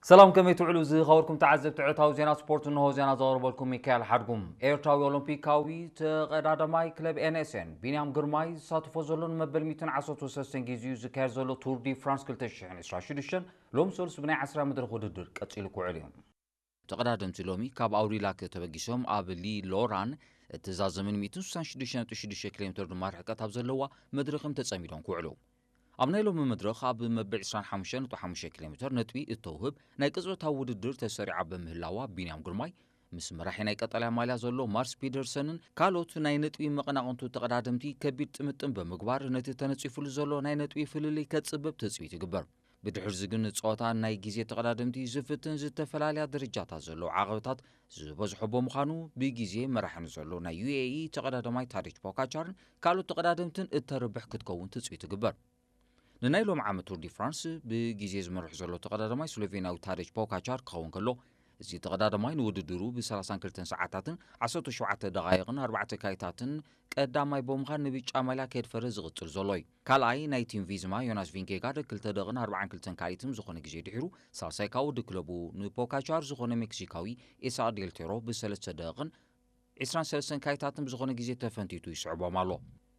ሰላም፣ ከመይ ትውዕሉ ዝኸበርኩም ተዓዘብቲ ዕለታዊ ዜና ስፖርት? እንሆ ዜና ዘቕርበልኩም ሚካኤል ሓድጉም። ኤርትራዊ ኦሎምፒካዊ ተቐዳዳማይ ክለብ ኤንኤስኤን ቢንያም ግርማይ ዝሳተፎ ዘሎ ንመበል ሚእትን ዓሰርተ ሰለስተን ግዜኡ ዝካየድ ዘሎ ቱር ዲ ፍራንስ ክልተ ሽሕን ዕስራን ሽዱሽተን ሎም ሰሉስ ብናይ ዓስራ መድረኽ ውድድር ቀጺሉ ክውዕል እዩ። ተቐዳደምቲ ሎሚ ካብ ኣውሪላክ ተበጊሶም ኣብ ሊሎራን እትዛዘምን ሚእትን ስሳን ሽዱሽተ ነጥቢ ሽዱሽተ ኪሎ ሜትር ድማ ርሕቀት ኣብ ዘለዋ መድረኽም ተጸሚዶም ክውዕሉ። ኣብ ናይ ሎሚ መድረኽ ኣብ መበል ዕስራን ሓሙሽተን ነጥቢ ሓሙሽተ ኪሎ ሜትር ነጥቢ እተውህብ ናይ ቅጽበታዊ ውድድር ተሰሪዓ ብምህላዋ፣ ቢንያም ግርማይ ምስ መራሒ ናይ ቀጠልያ ማልያ ዘሎ ማርስ ፒደርሰንን ካልኦት ናይ ነጥቢ መቐናቕንቱ ተቐዳደምቲ ከቢድ ጥምጥም ብምግባር፣ ነቲ ተነጺፉሉ ዘሎ ናይ ነጥቢ ፍልልይ ከጽብብ ትጽቢት ይግበር። ብድሕርዚ ግን ጸወታ ናይ ግዜ ተቐዳደምቲ ዝፍትን ዝተፈላለያ ደረጃታት ዘለዎ ዓቐብታት ዝበዝሖ ብምዃኑ፣ ብግዜ መራሒ ንዘሎ ናይ ዩኤኢ ተቐዳዳማይ ታዲች ፖካቻርን ካልኦት ተቐዳደምትን እተርብሕ ክትከውን ትጽቢት ይግበር። ንናይ ሎም ዓመት ቱር ዲ ፍራንስ ብግዜ ዝመርሕ ዘሎ ተቐዳዳማይ ስሎቬንያዊ ታዲች ፖካቻር ክኸውን ከሎ፣ እዚ ተቐዳዳማይ ንውድድሩ ብ ሰላሳን ክልተን ሰዓታትን ዓሰርተ ሸውዓተ ደቓይቕን ኣርባዕተ ካይታትን ቀዳማይ ብምዃን ንብጫ ማልያ ከየድፈረ ዝቕጽል ዘሎ እዩ። ካልኣይ ናይ ቲም ቪዝማ ዮናስ ቪንጌጋርድ ክልተ ደቕን ኣርባዓን ክልተን ካልኢትን ዝኾነ ግዜ ድሒሩ፣ ሳልሳይ ካብ ወዲ ክለቡ ንፖካቻር ዝኾነ ሜክሲካዊ ኢሳቅ ዴልቴሮ ብሰለስተ ደቕን ዕስራን ሰለስተን ካይታትን ብዝኾነ ግዜ ተፈንቲቱ ይስዕቦም ኣሎ።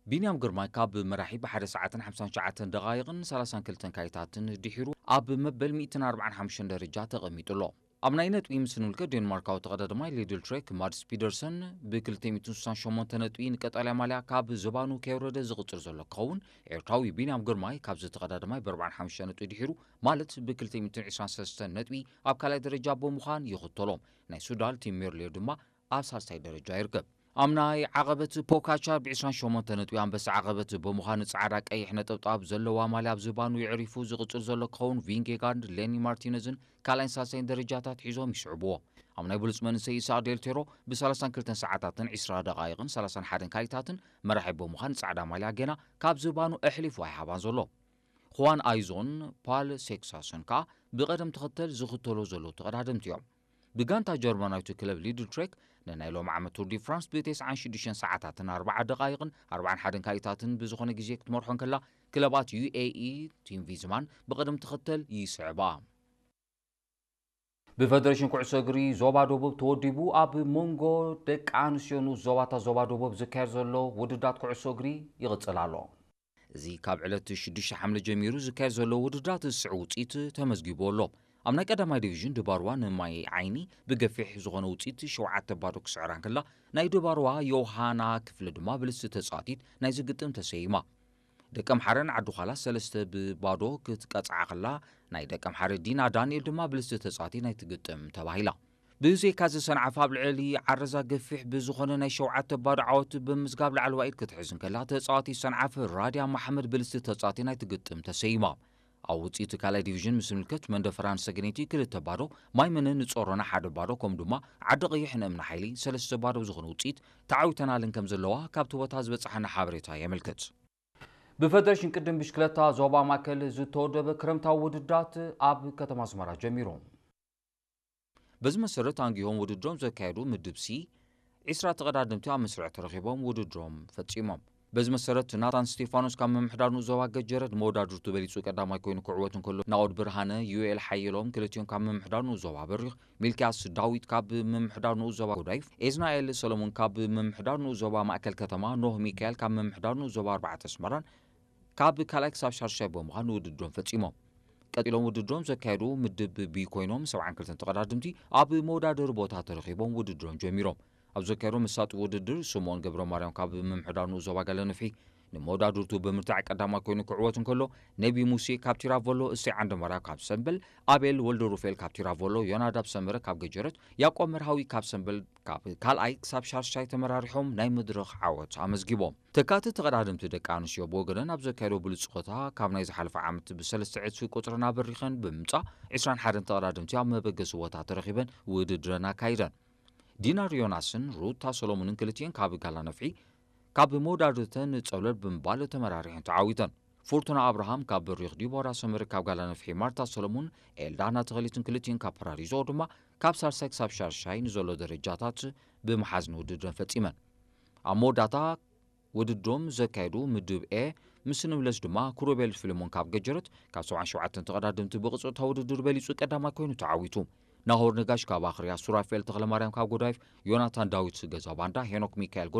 ቢንያም ግርማይ ካብ መራሒ ብሓደ ሰዓትን ሓምሳን ትሽዓተን ደቓይቕን ሰላሳን ክልተን ካይታትን ድሒሩ ኣብ መበል ሚእትን ኣርባዓን ሓሙሽተን ደረጃ ተቐሚጡ ኣሎ። ኣብ ናይ ነጥቢ ምስ ንምልከት፣ ዴንማርካዊ ተቐዳዳማይ ሊድል ትሬክ ማድስ ፒደርሰን ብ ክልተ ሚእትን ስሳን ሸሞንተ ነጥቢ ንቀጠልያ ማልያ ካብ ዝባኑ ከየውረደ ዝቕጽል ዘሎ ክኸውን፣ ኤርትራዊ ቢንያም ግርማይ ካብዚ ተቐዳዳማይ ብ ኣርባዓን ሓሙሽተን ነጥቢ ድሒሩ፣ ማለት ብ ክልተ ሚእትን ዕስራን ሰለስተን ነጥቢ ኣብ ካልኣይ ደረጃ ብምዃን ይኽተሎ። ናይ ሱዳን ቲም ሜርሌ ድማ ኣብ ሳልሳይ ደረጃ ይርከብ። ኣብ ናይ ዓቐበት ፖካቻር ብ ዕስራን ሸሞንተ ነጥቢ ኣንበሳ ዓቐበት ብምዃን ጻዕዳ ቀይሕ ነጠብጣብ ዘለዋ ማልያ ኣብ ዝባኑ የዕሪፉ ዝቕጽል ዘሎ ክኸውን፣ ቪንጌጋርድ፣ ሌኒ ማርቲነዝን ካልኣይን ሳልሳይን ደረጃታት ሒዞም ይስዕብዎ። ኣብ ናይ ብሉጽ መንእሰይ ኢሳቅ ዴልቴሮ ብ ሰላሳን ክልተን ሰዓታትን ዕስራ ደቓይቕን ሰላሳን ሓደን ካልኢታትን መራሒ ብምዃን ጻዕዳ ማልያ ጌና ካብ ዝባኑ ኣሕሊፉ ኣይሃባን ዘሎ። ኹዋን ኣይዞን ፓል ሴክሳስን ከኣ ብቐደም ተኸተል ዝኽተሎ ዘለዉ ተቐዳደምቲ እዮም። ብጋንታ ጀርመናዊት ክለብ ሊድል ትሬክ ንናይ ሎም ዓመት ቱር ዲ ፍራንስ ብ ተስዓን ሽዱሽተን ሰዓታትን ኣርባዓ ደቓይቕን ኣርባዓን ሓደን ካልኢታትን ብዝኾነ ግዜ ክትመርሖ እንከላ፣ ክለባት ዩኤኢ ቲም ቪዝማን ብቐደም ተኸተል ይስዕባ። ብፈደሬሽን ኩዕሶ እግሪ ዞባ ደቡብ ተወዲቡ ኣብ መንጎ ደቂ ኣንስትዮ ንኡስ ዞባታት ዞባ ደቡብ ዝካየድ ዘሎ ውድዳት ኩዕሶ እግሪ ይቕጽል ኣሎ። እዚ ካብ ዕለት ሽዱሽተ ሓምለ ጀሚሩ ዝካየድ ዘሎ ውድዳት ዝስዕብ ውጽኢት ተመዝጊቡ ኣሎ። ኣብ ናይ ቀዳማይ ዲቪዥን ድባርዋ ንማይ ዓይኒ ብገፊሕ ዝኾነ ውጽኢት ሸውዓተ ባዶ ክስዕራ እንከላ፣ ናይ ድባርዋ ዮሃና ክፍለ ድማ ብልስቲ ተጻዋቲት ናይ ዝግጥም ተሰይማ። ደቀምሓረ ንዓዲ ዃላ ሰለስተ ብባዶ ክትቀጽዓ ከላ፣ ናይ ደቀምሓረ ዲና ዳንኤል ድማ ብልስቲ ተጻዋቲ ናይ ትግጥም ተባሂላ። ብዘይካ እዚ ሰንዓፈ ኣብ ልዕሊ ዓረዛ ገፊሕ ብዝኾነ ናይ ሸውዓተ ባዶ ዓወት ብምዝጋብ ላዕለዋይ ኢድ ክትሕዝ እንከላ፣ ተጻዋቲ ሰንዓፈ ራድያ መሓመድ ብልስቲ ተጻዋቲ ናይ ትግጥም ተሰይማ። ኣብ ውጽኢት ካልኣይ ዲቪዥን ምስ ንምልከት፣ መንደፈራን ሰገነይቲ ክልተ ባዶ፣ ማይመነ ንጾሮና ሓደ ባዶ፣ ከምኡ ድማ ዓዲ ቀይሕ ንእምኒ ሓይሊ ሰለስተ ባዶ ብዝኾነ ውጽኢት ተዓዊተናለን ከም ዘለዋ ካብቲ ቦታ ዝበጽሓና ሓበሬታ የመልክት። ብፈደሬሽን ቅድም ብሽክለታ ዞባ ማእከል ዝተወደበ ክረምታዊ ውድዳት ኣብ ከተማ ኣስመራ ጀሚሩ። በዚ መሰረት፣ ኣንጊሆም ውድድሮም ዘካየዱ ምድብ ሲ፣ ዕስራ ተቐዳደምቲ ኣብ መስርዕ ተረኺቦም ውድድሮም ፈጺሞም። በዚ መሰረት፣ ናታን ስቴፋኖስ ካብ ምምሕዳር ንኡስ ዞባ ገጀረት መወዳድርቱ በሊጹ ቀዳማይ ኮይኑ ክዕወት እንከሎ፣ ናኦድ ብርሃነ፣ ዩኤል ሓየሎም ክልቲኦም ካብ ምምሕዳር ንኡስ ዞባ በሪኽ፣ ሚልክያስ ዳዊት ካብ ምምሕዳር ንኡስ ዞባ ጎዳይፍ፣ ኤዝናኤል ሰሎሞን ካብ ምምሕዳር ንኡስ ዞባ ማእከል ከተማ፣ ኖህ ሚካኤል ካብ ምምሕዳር ንኡስ ዞባ ኣርባዕተ ኣስመራን ካብ ካልኣይ ክሳብ ሻድሻይ ብምዃን ውድድሮም ፈጺሞም። ቀጺሎም ውድድሮም ዘካየዱ ምድብ ቢ ኮይኖም፣ ሰብዓን ክልተን ተቐዳደምቲ ኣብ መወዳደሪ ቦታ ተረኺቦም ውድድሮም ጀሚሮም። ኣብ ዘካየዶ መሳጢ ውድድር፣ ስምኦን ገብረ ማርያም ካብ ምምሕዳር ንኡስ ዞባ ጋለነፍሒ ንመወዳድርቱ ብምርታዕ ቀዳማይ ኮይኑ ክዕወት እንከሎ፣ ነቢ ሙሴ ካብ ቲራቮሎ፣ እሰይ ዓንደማርያም ካብ ሰምበል፣ ኣቤል ወልደ ሩፋኤል ካብ ቲራቮሎ፣ ዮናዳብ ሰመረ ካብ ገጀረት፣ ያዕቆብ መርሃዊ ካብ ሰምበል ካብ ካልኣይ ክሳብ ሻድሻይ ተመራሪሖም ናይ መድረኽ ዓወት ኣመዝጊቦም። ተካእቲ ተቐዳደምቲ ደቂ ኣንስትዮ ብወገነን ኣብ ዘካየዶ ብሉጽ ጸወታ፣ ካብ ናይ ዝሓለፈ ዓመት ብሰለስተ ዕጽፊ ቁጽረን ኣበሪኸን ብምምጻእ፣ ዕስራን ሓደን ተቐዳደምቲ ኣብ መበገሲ ቦታ ተረኺበን ውድድረን ኣካይደን። ዲናር ዮናስን ሩታ ሰሎሞንን ክልቲኤን ካብ ጋላ ነፍሒ፣ ካብ መወዳድርተን ጸብለል ብምባል ተመራሪሐን ተዓዊተን። ፉርቱና ኣብርሃም ካብ በሪኽ፣ ዲቦራ ሰመረ ካብ ጋላ ነፍሒ፣ ማርታ ሰሎሞን፣ ኤልዳና ተኸሊትን ክልቲኤን ካብ ፓራዲዞ ድማ ካብ ሳልሳይ ክሳብ ሻድሻይ ንዘሎ ደረጃታት ብምሓዝ ንውድድረን ፈጺመን። ኣብ መወዳእታ ውድድሮም ዘካየዱ ምድብ ኤ፣ ምስ ንብለስ ድማ ክሩቤል ፍልሞን ካብ ገጀረት ካብ ሰብዓን ሸውዓተን ተቐዳደምቲ ብቕጽታ ውድድር በሊጹ ቀዳማይ ኮይኑ ተዓዊቱ። ናሆር ነጋሽ ካብ ኣኽርያ፣ ሱራፌል ተኽለማርያም ካብ ጎዳይፍ፣ ዮናታን ዳዊት ገዛ ባንዳ፣ ሄኖክ ሚካኤል